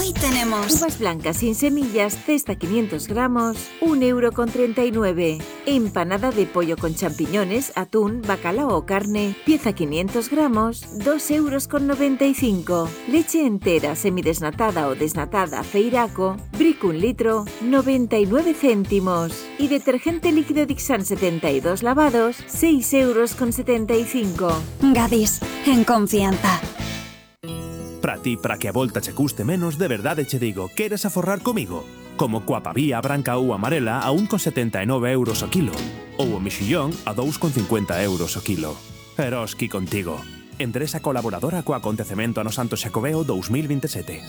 Hoy tenemos uvas blancas sin semillas, cesta 500 gramos, 1,39 €. Empanada de pollo con champiñones, atún, bacalao o carne, pieza 500 gramos, 2,95 €. Leche entera, semidesnatada o desnatada, Feiraco, Brick 1 litro, 99 céntimos. Y detergente líquido Dixan 72 lavados, 6,75 €. Gadis, en confianza. Para ti, para que a volta che custe menos, de verdade che digo, queres aforrar comigo? Como coa pavía branca ou amarela a 1,79 € o kilo. Ou o mexillón a 2,50 € o kilo. Eroski contigo. Empresa colaboradora co acontecemento ano Santo Xacobeo 2027.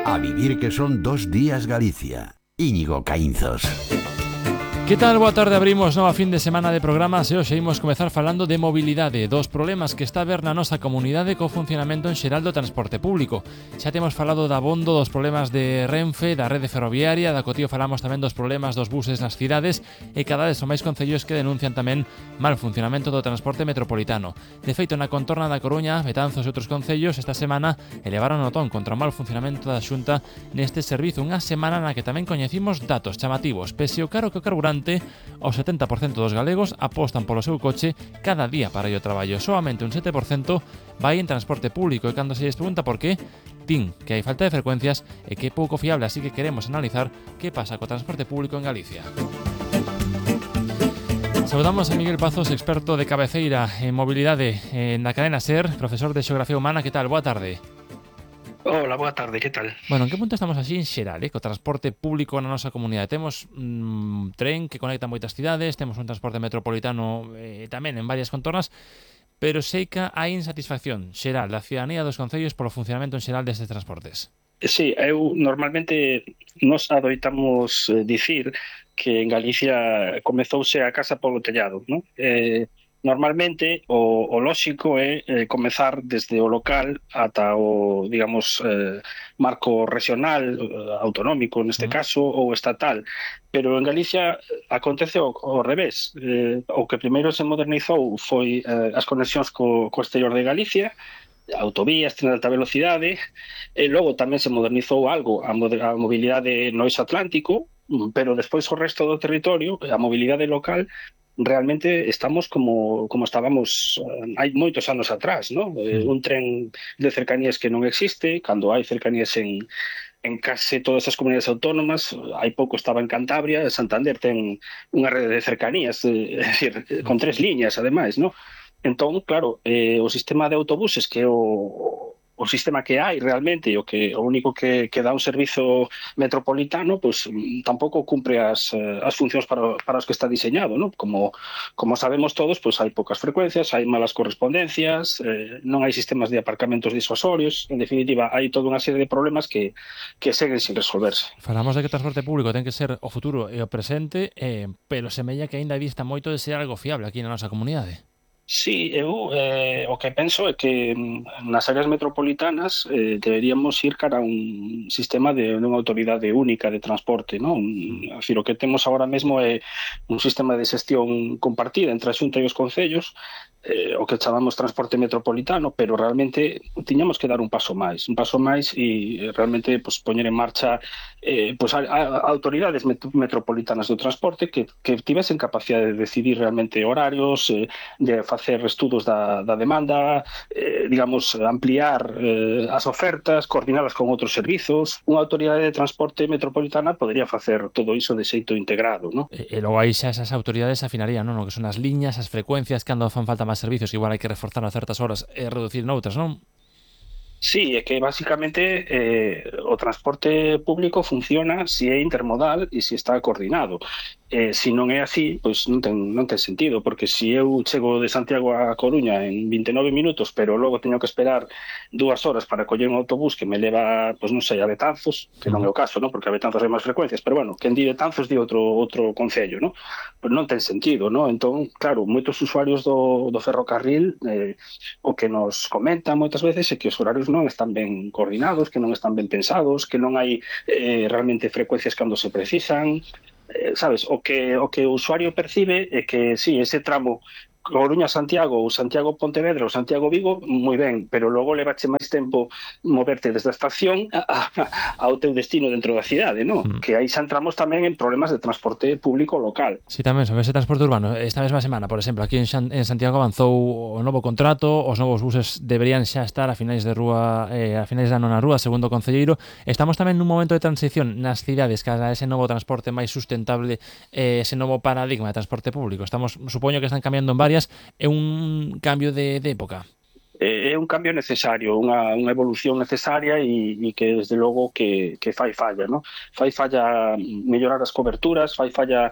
A vivir que son 2 días Galicia. Íñigo Caínzos. Que tal? Boa tarde, abrimos nova fin de semana de programas e hoxe imos comezar falando de mobilidade, dos problemas que está a ver na nosa comunidade co funcionamento en xeral do transporte público. Xa temos falado da abondo dos problemas de Renfe, da rede ferroviaria, da Cotío falamos tamén dos problemas dos buses nas cidades e cada vez son máis concellos que denuncian tamén mal funcionamento do transporte metropolitano. De feito, na contorna da Coruña, Betanzos e outros concellos esta semana elevaron o ton contra o mal funcionamento da Xunta neste servizo, unha semana na que tamén coñecimos datos chamativos, pese o caro que o carburante, o 70% dos galegos apostan polo seu coche cada día para ir ao traballo. Solamente un 7% vai en transporte público e cando se lles pregunta por qué, din que hai falta de frecuencias e que é pouco fiable, así que queremos analizar que pasa co transporte público en Galicia. Saudamos a Miguel Pazos, experto de cabeceira en mobilidade na cadena SER, profesor de Xeografía Humana. Que tal? Boa tarde. Hola, boa tarde, que tal? Bueno, en que punto estamos así en xeral, co transporte público na nosa comunidade? Temos tren que conecta moitas cidades, temos un transporte metropolitano tamén en varias contornas, pero sei que hai insatisfacción xeral da cidadanía dos concellos polo funcionamento en xeral destes transportes. Sí, eu normalmente nos adoitamos dicir que en Galicia comezouse a casa polo tellado, non? Normalmente o lóxico é comezar desde o local ata o, digamos, marco regional, autonómico neste caso, ou estatal. Pero en Galicia acontece ao revés. O que primeiro se modernizou foi as conexións co exterior de Galicia, autovías, tren de alta velocidade, e logo tamén se modernizou algo a mobilidade no eixo atlántico, pero despois o resto do territorio, a mobilidade local, realmente estamos como estábamos hai moitos anos atrás, ¿no? Un tren de cercanías que non existe, cando hai cercanías en case todas as comunidades autónomas. Hai pouco estaba en Cantabria, Santander ten unha rede de cercanías, é dicir, con 3 liñas, ademais, ¿no? Entón, claro, o sistema de autobuses, que é o sistema que hai realmente, o único que dá un servizo metropolitano, pues tampouco cumpre as funcións para os que está diseñado, ¿no? Como sabemos todos, pues hai poucas frecuencias, hai malas correspondencias, non hai sistemas de aparcamentos disuasorios, en definitiva, hai toda unha serie de problemas que seguen sin resolverse. Falamos de que o transporte público ten que ser o futuro e o presente, pero semella que aínda dista moito de ser algo fiable aquí na nosa comunidade. Sí, eu o que penso é que nas áreas metropolitanas deberíamos ir cara a un sistema de unha autoridade única de transporte, non? O que temos agora mesmo é un sistema de xestión compartida entre a Xunta e os concellos, o que chamamos transporte metropolitano, pero realmente tiñamos que dar un paso máis e realmente pues, poñer en marcha pues, autoridades metropolitanas do transporte que tivesen capacidade de decidir realmente horarios, de facer estudos da demanda, digamos, ampliar as ofertas, coordinadas con outros servizos. Unha autoridade de transporte metropolitana podería facer todo iso de xeito integrado, non? E logo aí xa esas autoridades afinarían, non? O que son as liñas, as frecuencias, cando fan falta máis servicios, igual hai que reforzar a certas horas e reducir noutras, non? Sí, é que basicamente o transporte público funciona se é intermodal e se está coordinado. Se non é así, pois non ten sentido, porque se eu chego de Santiago a Coruña en 29 minutos, pero logo teño que esperar 2 horas para coller un autobús que me leva, pois non sei, a Betanzos, que non é o caso, non? Porque a Betanzos hai máis frecuencias, pero bueno, quen di Betanzos di outro concello, non? Pois non ten sentido, non? Entón, claro, moitos usuarios do ferrocarril o que nos comentan moitas veces é que os horarios non están ben coordinados, que non están ben pensados, que non hai realmente frecuencias cando se precisan. Sabes, o que o usuario percibe é que sí, ese tramo Coruña-Santiago ou Santiago-Pontevedra ou Santiago-Vigo, moi ben, pero logo levache máis tempo moverte desde a estación ao teu destino dentro da cidade, non? Que aí xa entramos tamén en problemas de transporte público local. Sí, tamén sobre ese transporte urbano. Esta mesma semana, por exemplo, aquí en Santiago avanzou o novo contrato, os novos buses deberían xa estar a finais de da nona rúa, segundo o concelleiro. Estamos tamén nun momento de transición nas cidades cara a ese novo transporte máis sustentable, ese novo paradigma de transporte público. Supoño que están cambiando en varias, é un cambio de época. É un cambio necesario, unha evolución necesaria e que desde logo que fai falla, ¿no? Fai falla mellorar as coberturas, fai falla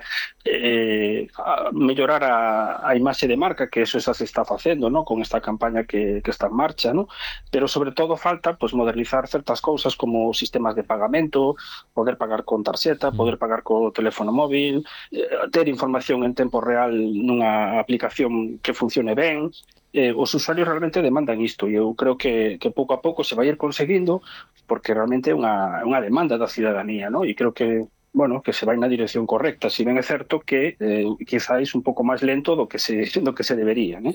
mellorar a imaxe de marca, que eso xa se está facendo, ¿no? Con esta campaña que está en marcha, ¿no? Pero sobre todo falta pues modernizar certas cousas como sistemas de pagamento, poder pagar con tarxeta, poder pagar co teléfono móvil, ter información en tempo real nunha aplicación que funcione ben. Os usuarios realmente demandan isto e eu creo que pouco a pouco se vai ir conseguindo porque realmente é unha demanda da cidadanía, ¿no? E creo que que se vai na dirección correcta, si ben é certo que quizáis un pouco máis lento do que se debería, ¿no?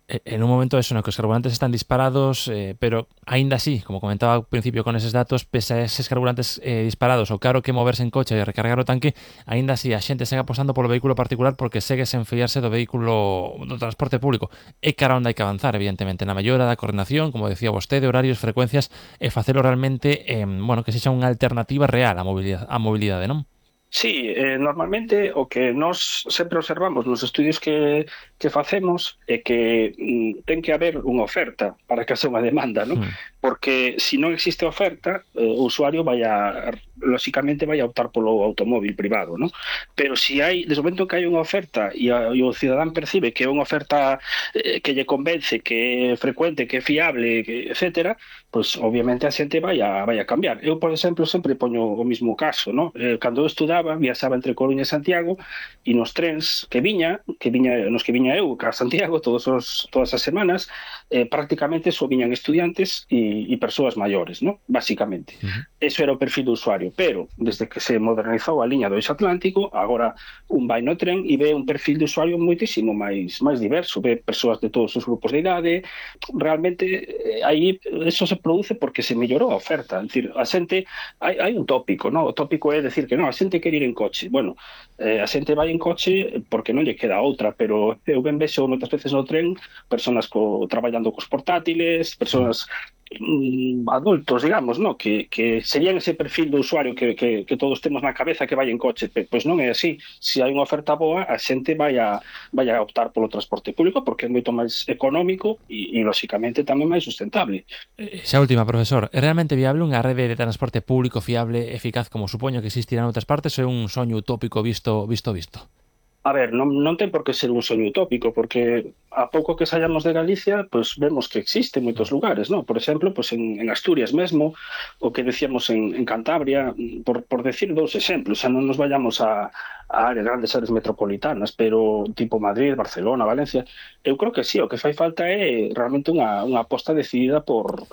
En un momento eso, no que os carburantes están disparados, pero aínda así, como comentaba ao principio con eses datos, pese a eses carburantes disparados, o caro que moverse en coche e recargar o tanque, aínda así a xente segue apostando polo vehículo particular porque segue sen fiarse do vehículo do transporte público. É cara onde hai que avanzar, evidentemente, na mellora da coordinación, como decía vostede, horarios, frecuencias, e facelo realmente, que sexa unha alternativa real á mobilidade, non? Sí, normalmente o que nós sempre observamos nos estudios que facemos é que ten que haber unha oferta para que haxa unha demanda, ¿no? Porque se non existe oferta, o usuario lóxicamente vai a optar polo automóvil privado, ¿no? Pero se hai, desde o momento que hai unha oferta e o cidadán percibe que é unha oferta que lle convence, que é frecuente, que é fiable, etcétera, pues obviamente a xente vai a cambiar. Eu, por exemplo, sempre poño o mismo caso, ¿no? Cando eu estudaba, viaxaba entre Coruña e Santiago e nos trens nos que viña eu a Santiago todas as semanas, prácticamente só viñan estudiantes e persoas maiores, ¿no? Básicamente. Eso era o perfil do usuario, pero desde que se modernizou a liña do Eixo Atlántico, agora un vai no tren e ve un perfil de usuario moitísimo máis diverso, ve persoas de todos os grupos de idade. Realmente aí eso se produce porque se mellorou a oferta. É dicir, a xente, hai un tópico, ¿no? O tópico é decir que non, a xente quere ir en coche. Bueno, a xente vai en coche porque non lle queda outra, pero eu ben vexo moitas veces no tren persoas traballando cos portátiles, persoas adultos, digamos, ¿no? Que serían ese perfil do usuario que todos temos na cabeza que vai en coche. Pois non é así. Se hai unha oferta boa, a xente vai a optar polo transporte público porque é moito máis económico e lóxicamente tamén máis sustentable. Xa última, profesor, é realmente viable unha rede de transporte público fiable, eficaz, como supoño que existirá en outras partes, ou é un soño utópico visto? A ver, non ten por que ser un soño utópico, porque a pouco que saíamos de Galicia, pues vemos que existe en moitos lugares, ¿no? Por exemplo, pues en Asturias mesmo, o que decíamos en Cantabria, por decir dous exemplos, xa non nos vayamos a grandes áreas metropolitanas, pero tipo Madrid, Barcelona, Valencia, eu creo que sí, o que fai falta é realmente unha aposta decidida por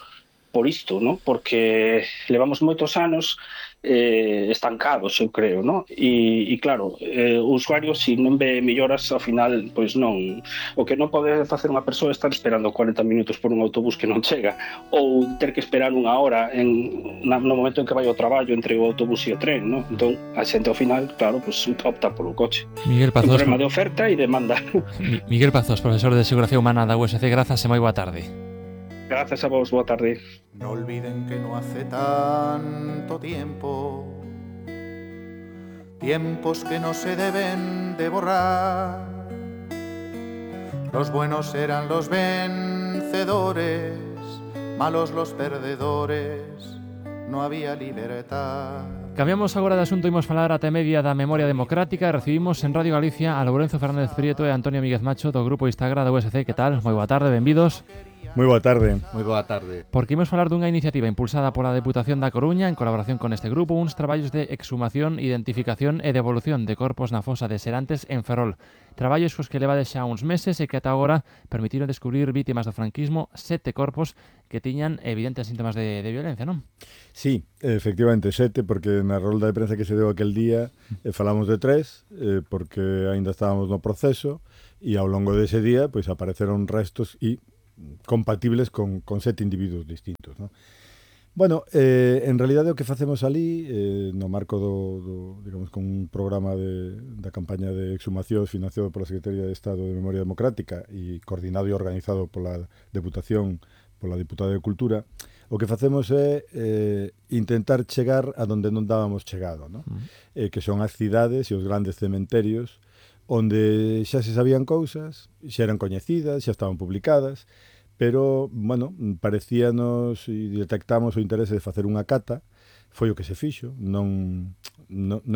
isto, ¿no? Porque levamos moitos anos estancados, eu creo, ¿no? E claro, o usuario, se non ve melloras, ao final, pois non. O que non pode facer unha persoa é estar esperando 40 minutos por un autobús que non chega, ou ter que esperar unha hora no momento en que vai ao traballo entre o autobús e o tren, ¿no? Entón, a xente ao final, claro, pois opta polo coche. Miguel Pazos, un problema de oferta e demanda. Miguel Pazos, profesor de Xeografía Humana da USC, grazas e moi boa tarde. Gracias a vos, boa tarde. No olviden que no hace tanto tiempo, tiempos que no se deben de borrar. Los buenos eran los vencedores, malos los perdedores, no había libertad. Cambiamos agora de asunto e imos falar ata media da memoria democrática. Recibimos en Radio Galicia a Lourenzo Fernández Prieto e Antonio Míguez Macho do grupo Instagram da USC. Que tal? Moi boa tarde, benvidos. Moi boa tarde. Moi boa tarde. Porque imos falar dunha iniciativa impulsada pola Deputación da Coruña en colaboración con este grupo, uns traballos de exhumación, identificación e devolución de corpos na fosa de Serantes en Ferrol. Traballos cos que levades xa uns meses e que ata agora permitiron descubrir vítimas do franquismo 7 corpos que tiñan evidentes síntomas de violencia, non? Sí, efectivamente, 7, porque na rolda de prensa que se deu aquel día falamos de 3, porque aínda estábamos no proceso, e ao longo dese día pois apareceron restos e compatibles con 7 individuos distintos, ¿no? Bueno, en realidade o que facemos ali, no marco digamos, con un programa da campaña de exhumación financiado pola Secretaría de Estado de Memoria Democrática e coordinado e organizado pola Deputación, pola Diputada de Cultura, o que facemos é intentar chegar a donde non dábamos chegado, ¿no? Que son as cidades e os grandes cementerios onde xa se sabían cousas, xa eran coñecidas, xa estaban publicadas, pero, bueno, parecíanos e detectamos o interese de facer unha cata, foi o que se fixo, non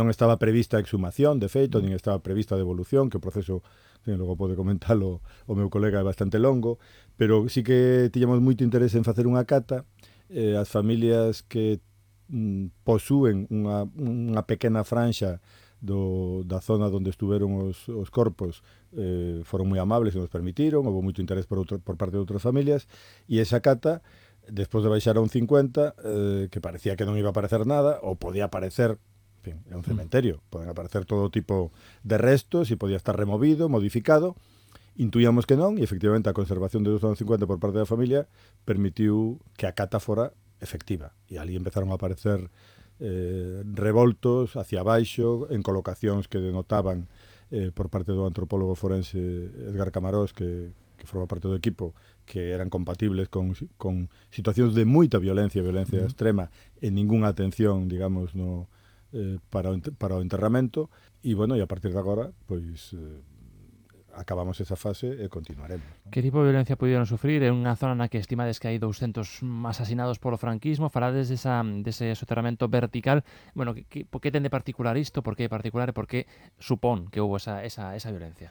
estaba prevista a exhumación, de feito, nin estaba prevista a devolución, que o proceso, logo pode comentarlo o meu colega, é bastante longo, pero sí que tiñamos moito interese en facer unha cata. As familias que posúen unha pequena franxa da zona onde estuveron os corpos foron moi amables e nos permitiron, houve moito interés por parte de outras familias, e esa cata, despois de baixar a un 50, que parecía que non iba a aparecer nada, ou podía aparecer, en fin, é un cementerio, poden aparecer todo tipo de restos e podía estar removido, modificado. Intuíamos que non, e efectivamente a conservación de 250 por parte da familia permitiu que a cata fora efectiva, e ali empezaron a aparecer revoltos hacia baixo en colocacións que denotaban por parte do antropólogo forense Edgar Camarós, que forma parte do equipo, que eran compatibles con situacións de moita violencia extrema e ningunha atención, digamos, para o enterramento. E, bueno, e a partir de agora, pois acabamos esa fase e continuaremos, ¿no? Que tipo de violencia puderon sufrir? É unha zona na que estimades que hai 200 asasinados polo franquismo. Falades dese soterramento vertical. Bueno, por que ten de particular isto? Por que é particular e por que supón que houve esa violencia?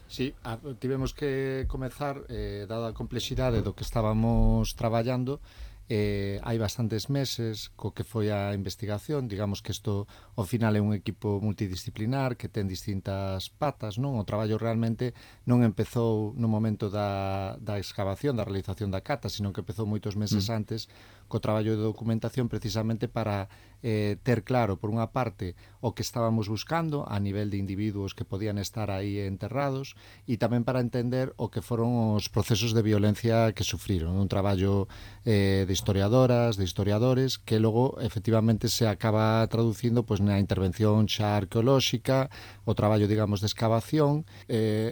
Sí, tivemos que comezar, dada a complexidade do que estábamos traballando, hai bastantes meses co que foi a investigación. Digamos que isto ao final é un equipo multidisciplinar que ten distintas patas, non? O traballo realmente non empezou no momento da excavación, da realización da cata, sino que empezou moitos meses antes co traballo de documentación, precisamente para ter claro, por unha parte, o que estábamos buscando a nivel de individuos que podían estar aí enterrados, e tamén para entender o que foron os procesos de violencia que sufriron. Un traballo de historiadoras, de historiadores, que logo efectivamente se acaba traducindo pois na intervención xa arqueolóxica, o traballo, digamos, de excavación.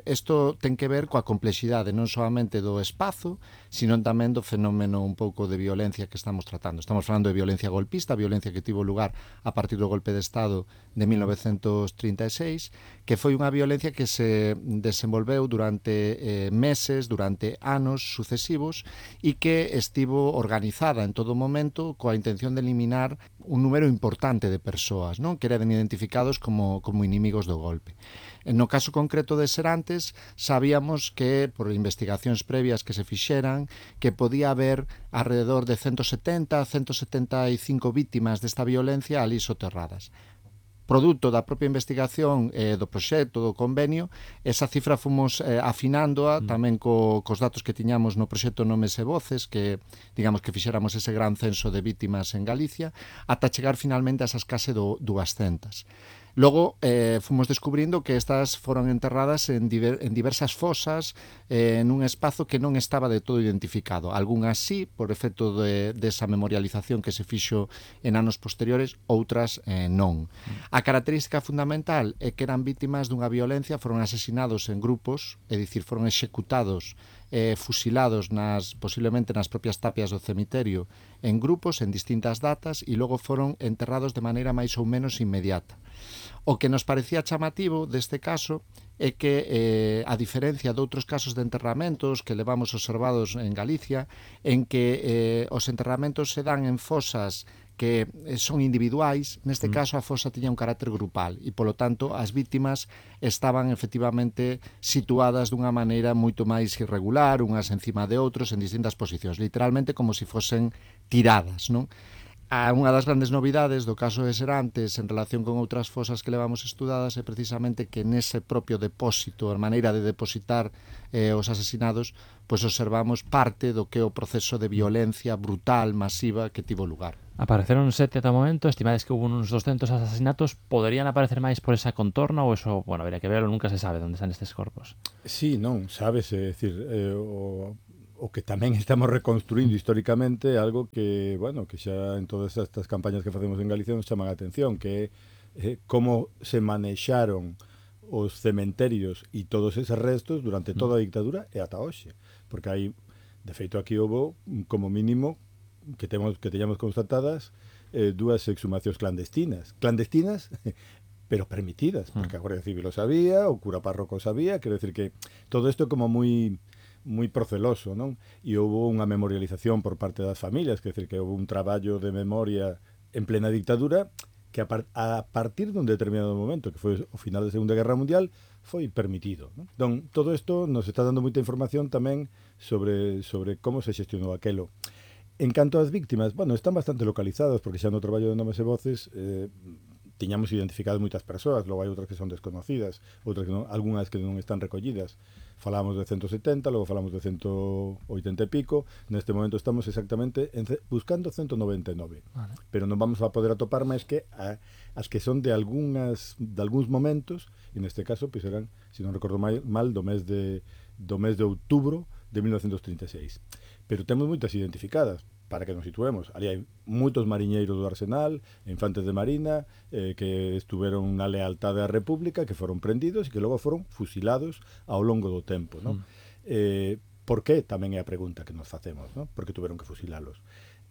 Isto ten que ver coa complexidade non solamente do espazo, sino tamén do fenómeno un pouco de violencia que estamos tratando. Estamos falando de violencia golpista, violencia que tivo lugar a partir do golpe de Estado de 1936, que foi unha violencia que se desenvolveu durante meses, durante anos sucesivos, e que estivo organizada en todo momento coa intención de eliminar un número importante de persoas, non? Que eran identificados como inimigos do golpe. No caso concreto de Serantes, sabíamos que, por investigacións previas que se fixeran, que podía haber alrededor de 170 a 175 vítimas desta violencia ali soterradas. Produto da propia investigación do proxecto, do convenio, esa cifra fomos afinándoa tamén cos datos que tiñamos no proxecto Nomes e Voces, que, digamos, que fixéramos ese gran censo de vítimas en Galicia, ata chegar finalmente a esas case 200. Logo, fomos descubrindo que estas foron enterradas en diversas fosas, nun espazo que non estaba de todo identificado. Algúnas sí, por efecto desa memorialización que se fixo en anos posteriores, outras non. A característica fundamental é que eran vítimas dunha violencia, foron asesinados en grupos, é dicir, foron executados, fusilados posiblemente nas propias tapias do cemiterio, en grupos, en distintas datas, e logo foron enterrados de maneira máis ou menos inmediata. O que nos parecía chamativo deste caso é que, a diferencia de outros casos de enterramentos que levamos observados en Galicia, en que os enterramentos se dan en fosas que son individuais, neste caso a fosa tiña un carácter grupal e, polo tanto, as vítimas estaban efectivamente situadas dunha maneira moito máis irregular, unhas encima de outros, en distintas posicións, literalmente como se fosen tiradas, non? Unha das grandes novidades do caso de Serantes en relación con outras fosas que levamos estudadas é precisamente que nese propio depósito, a maneira de depositar os asesinados, pois observamos parte do que é o proceso de violencia brutal, masiva que tivo lugar. Apareceron 7 ata o momento, estimades que hubo uns 200 asesinatos, poderían aparecer máis por esa contorna ou eso, bueno, habría que verlo, nunca se sabe onde están estes corpos? Sí, non, sabes, é dicir, o que tamén estamos reconstruindo históricamente algo que, bueno, que xa en todas estas campañas que facemos en Galicia nos chaman a atención, que é como se manexaron os cementerios e todos eses restos durante toda a dictadura e ata hoxe. Porque hai, de feito, aquí houve como mínimo que teñamos constatadas 2 exhumacións clandestinas, pero permitidas, porque a Guardia Civil o sabía, o cura párroco o sabía, quero decir que todo isto como moi proceloso, non? E houve unha memorialización por parte das familias, quer decir que houve un traballo de memoria en plena dictadura que a partir dun determinado momento, que foi o final da Segunda Guerra Mundial, foi permitido, non? Entón, todo isto nos está dando moita información tamén sobre como se xestionou aquelo. En canto ás víctimas, bueno, están bastante localizadas, porque xa no traballo de Nomes e Voces tiñamos identificado moitas persoas, logo hai outras que son desconocidas, outras que non, algunhas que non están recollidas. Falamos de 170, logo falamos de 180 e pico, neste momento estamos exactamente buscando 199. Vale. Pero non vamos a poder atopar máis que as que son de algúns momentos, e neste caso pois eran, se non recordo mal, do mes de outubro de 1936. Pero temos moitas identificadas, para que nos situemos. Ali hai moitos mariñeiros do Arsenal, infantes de marina, que estuveron na lealtade á República, que foron prendidos e que logo foron fusilados ao longo do tempo, non? Por que? Tamén é a pregunta que nos facemos, non? Por que tuveron que fusilalos?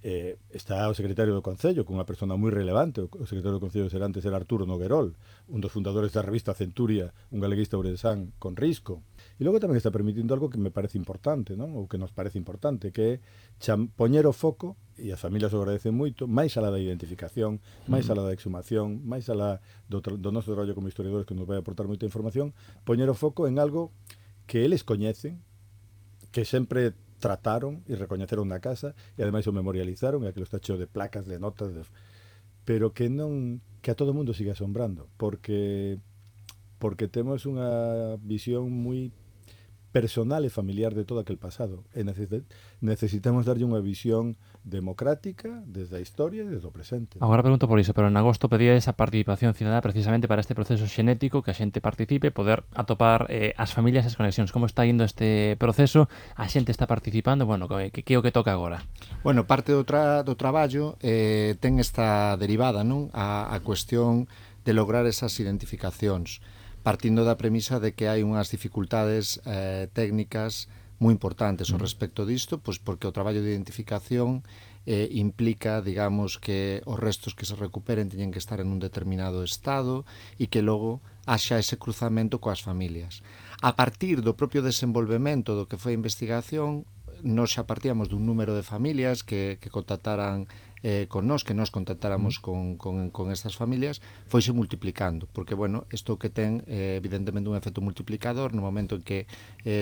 Está o secretario do Concello, que é unha persona moi relevante. O secretario do Concello de Serantes era Arturo Noguerol, un dos fundadores da revista Centuria, un galeguista ourensán con risco. E logo tamén está permitindo algo que me parece importante, non? Ou que nos parece importante, que é poñer o foco, e as familias o agradecen moito, máis alá da identificación, máis alá da exhumación, máis alá do noso traballo como historiadores, que nos vai aportar moita información, poñer o foco en algo que eles coñecen, que sempre trataron e recoñeceron na casa, e ademais o memorializaron, e aquilo está cheo de placas, de notas, pero que a todo mundo siga asombrando, porque temos unha visión moi personal e familiar de todo aquel pasado, e necesitamos darlle unha visión democrática desde a historia e desde o presente. Agora pregunto por iso, pero en agosto pedía esa participación cidadá precisamente para este proceso xenético, que a xente participe, poder atopar as familias e as conexións. Como está indo este proceso? A xente está participando? Bueno, que é o que toca agora? Bueno, parte do traballo ten esta derivada, non? A cuestión de lograr esas identificacións, partindo da premisa de que hai unhas dificultades técnicas moi importantes ao respecto disto, pois porque o traballo de identificación implica, digamos, que os restos que se recuperen teñen que estar en un determinado estado e que logo haxa ese cruzamento coas familias. A partir do propio desenvolvemento do que foi a investigación, nos xa partíamos dun número de familias que contactaran con nós, que nós contactáramos con estas familias, foise multiplicando, porque, bueno, isto que ten evidentemente un efecto multiplicador no momento en que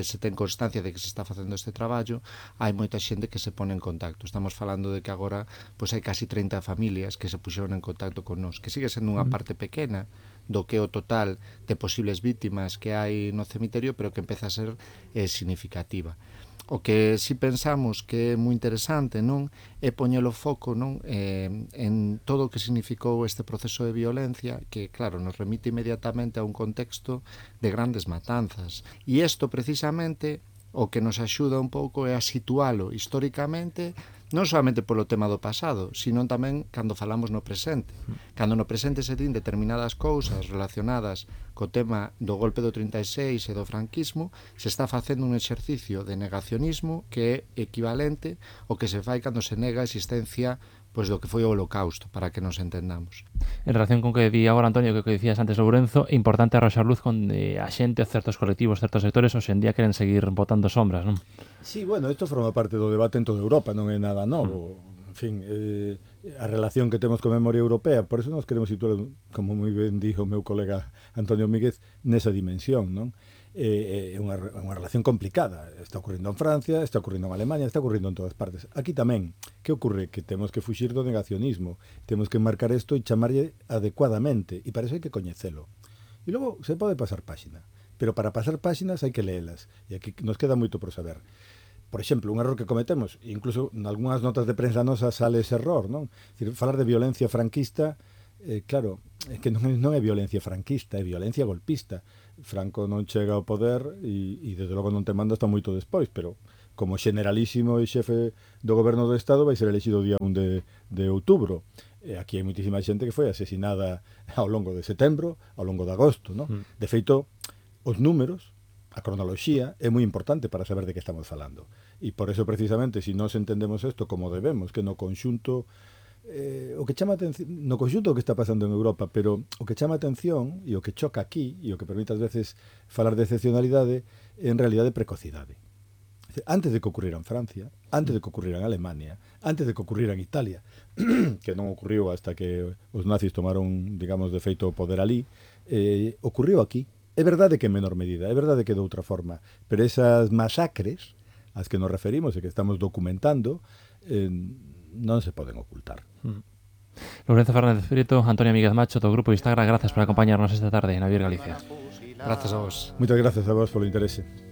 se ten constancia de que se está facendo este traballo, hai moita xente que se pone en contacto. Estamos falando de que agora pois hai casi 30 familias que se puxeron en contacto con nós, que sigue sendo unha parte pequena do que o total de posibles vítimas que hai no cemiterio, pero que empeza a ser significativa. O que si pensamos que é moi interesante, non, é poñer o foco, non, en todo o que significou este proceso de violencia, que, claro, nos remite inmediatamente a un contexto de grandes matanzas. E isto, precisamente, o que nos axuda un pouco é a situalo históricamente, non solamente polo tema do pasado, sino tamén cando falamos no presente. Cando no presente se din determinadas cousas relacionadas co tema do golpe do 36 e do franquismo, se está facendo un exercicio de negacionismo que é equivalente ao que se fai cando se nega a existencia pois do que foi o Holocausto, para que nos entendamos. En relación con que di agora, Antonio, que dicías antes, Lourenzo, é importante arroxar luz con a xente, certos colectivos, certos sectores, hoxe en día queren seguir botando sombras, non? Sí, bueno, isto forma parte do debate en toda Europa, non é nada novo. En fin, a relación que temos con memoria europea, por eso nos queremos situar, como moi ben dixo o meu colega Antonio Míguez, nesa dimensión, non? É unha relación complicada. Está ocurrindo en Francia, está ocurrindo en Alemania, está ocurrindo en todas partes. Aquí tamén, que ocurre? Que temos que fuxir do negacionismo, temos que marcar isto e chamarlle adecuadamente, e para iso hai que coñecelo. E logo se pode pasar páxina, pero para pasar páxinas hai que leelas, e aquí nos queda moito por saber. Por exemplo, un error que cometemos, incluso en algunhas notas de prensa nosas sale ese error, non? Decir, falar de violencia franquista, claro, é que non é violencia franquista, é violencia golpista. Franco non chega ao poder e desde logo non te manda hasta moito despois, pero como generalísimo e xefe do goberno do Estado vai ser elexido o día 1 de outubro. Aquí hai moitísima xente que foi asesinada ao longo de setembro, ao longo de agosto, non? De feito, os números, a cronoloxía é moi importante para saber de que estamos falando. E por eso precisamente, se nós entendemos isto como debemos, que no conxunto o que chama atención, no conxunto o que está pasando en Europa, pero o que chama atención e o que choca aquí e o que permite ás veces falar de excepcionalidade é en realidade precocidade. Antes de que ocurrira en Francia, antes de que ocurrira en Alemania, antes de que ocurrira en Italia, que non ocurriu hasta que os nazis tomaron, digamos, de feito o poder ali, ocurriu aquí. É verdade que en menor medida, é verdade que de outra forma, pero esas masacres ás que nos referimos e que estamos documentando non se poden ocultar. Lorenzo Fernández Prieto, Antonio Míguez Macho, do Grupo Instagram, gracias por acompañarnos esta tarde en A Vivir Galicia. Grazas a vos. Moitas grazas a vos polo interese.